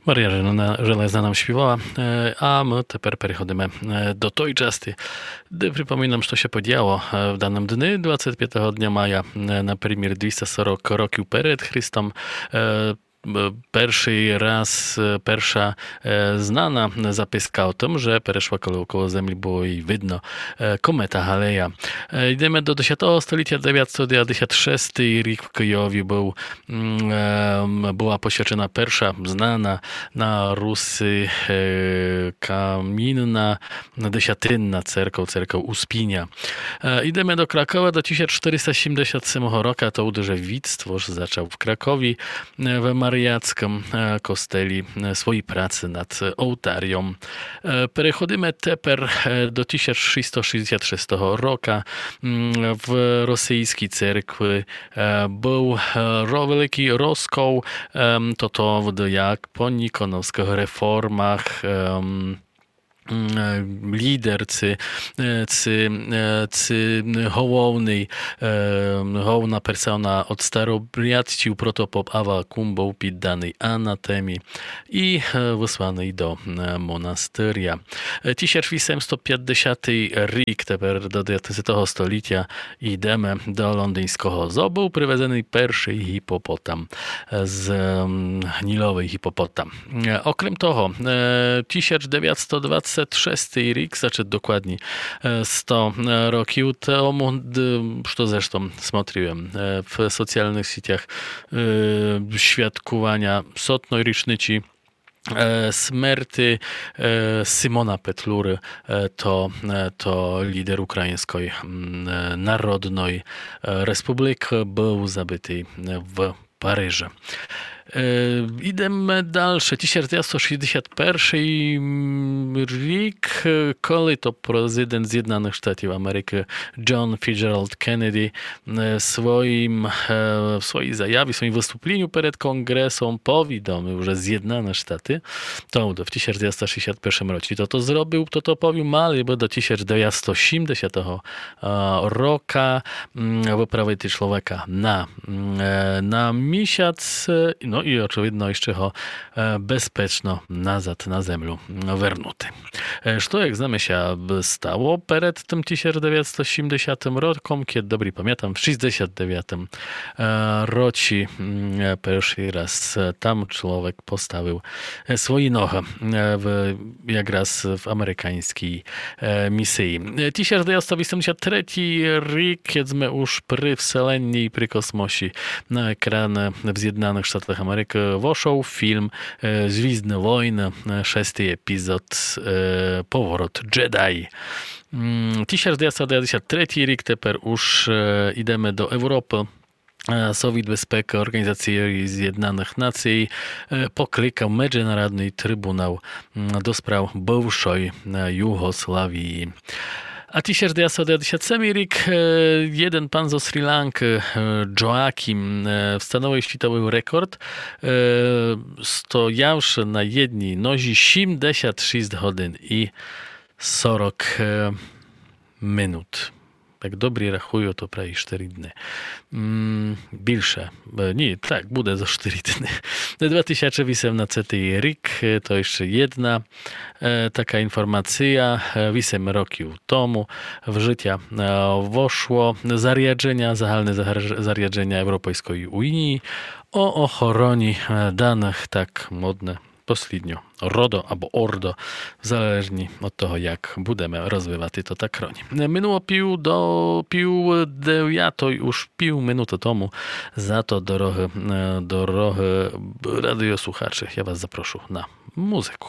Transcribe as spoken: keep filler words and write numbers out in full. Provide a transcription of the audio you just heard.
Марія Железна нам співала, е, а мы тепер переходиме, е, до той части, де припоминам, што ся подіяло, е, в даным дни, двадцет пятого дня мая, е, напримір, двіста сорок років перед Христом, е, е, першый раз, е, перша, е, знана записка о тым, же перешла коло, коло землі, было їй видно, е, комета Галея. Е, йдеме до десятого столітя, девятсто девятдесят шестый рік в Києві быв м, е, была посвячена перша знана на Руси, е, камінна десятинна церков, церков Успіня. Е, йдеме до Кракова, до тисяч чотыриста сімдесят семого рока, то удже Віт Створш зачав в Кракові, е, в Маріяцкым, е, костелі, е, свої праці над олтарьом. Е, переходиме тепер, е, до тисяч шістсто шістдесят шестого рока, м, в російскій церкви е, быв, е, ро-, великый розкол, ем, тото вд-, як по ніконовскых реформах, ем, м, е, лідер ци, е, ци, е, ци головный, е, головна персона од старобрядців протопоп Авакум быв підданый анатемі і, е, высланый до, е, монастыря. Е, тисяч вісемсто пятдесятый рік, тепер до девятнадцятого столітя, йдеме до лондиньского зоо, быв привезеный першый гіпопотам, е, з, м, гніловый гіпопотам. Е, окрем того, е, тисяч девятсто двадцет шестый рік, значыт докладні, е, сто, е, років тому, д-, што зрештом смотріл єм, е, в соціалных сітях, е, святкуваня сотной річничы е, смерти, е, Симона Петлюры, е, то, е, то лідер Україньской, м, е, Народной, е, Республікы, быв забитый, е, в Парижы. Е, йдеме дальше. Тисяч девятсто шістдесят першый, м, рік, е, коли то президент Зєднаных Штатів Америкы Джон Фіцджералд Кеннеді е, своїм, е, в своїй заяві, в своїм выступліню перед конґресом повідомив, же Зєднаны Штаты, то в тисяч девятсто шістдесят першым році то, то зробив, то, то повів, мали бы до тисяч девятсто сімдесятого, е, рока, м, выправити чловека на, м, е, на місяц, е, но і очевидно іщы го, е, безпечно назад на землю, м, вернути. Е, што, як знаме, ся б-, стало перед тым тисяч девятсто сімдесятым роком, кед добрі памятам, в шістдесят девятым, е, році, м, е, першый раз, е, там чловек поставив, е, свої ногы, е, в, якраз в американьскій, е, місиі. Е, тисяч девятсто вісемдесят третій рік, кед зме уж при вселенні і при космосі, на екраны в Зєднаных Штатах Америкы вошол фільм, е, Звіздны войны, е, шестый епізод, е, Поворот Джедай. М, тисяч девятсто девятдесят третій рік, тепер уж, е, йдеме до Европы. Е, Совіт Безпекы Орґанізациі Зєднаных Наций, е, покликав Меджынародный трибунал, м, до справ бывшой, е, Югославії. А тисяч девятсто девятдесят семый рік, е, єден пан зо Шрі-Ланкы, е, Джоакім, е, встановив світовый рекорд, е, стоявши на єдній нозі сімдесят шіст годин і сорок, е, минут. Як добрі рахую, то праві штыри дни. М, більше. Е, ні, так, буде зо штыри дни. Два тисячы вісемнадцятый рік, е, то іщы єдна е, така інформация, е, вісем років тому в жытя, е, вошло зарядженя, загальне загар-, зарядженя Европейской Уніі о охороні, е, даных, так модне послідньо, родо або ордо, в залежні од того, як будеме розвивати то так роні. Е, минуло пів до, пів девятой, уж пів минуты тому, зато дорогы, е, дорогы радіослухачы, я вас запрошу на музыку.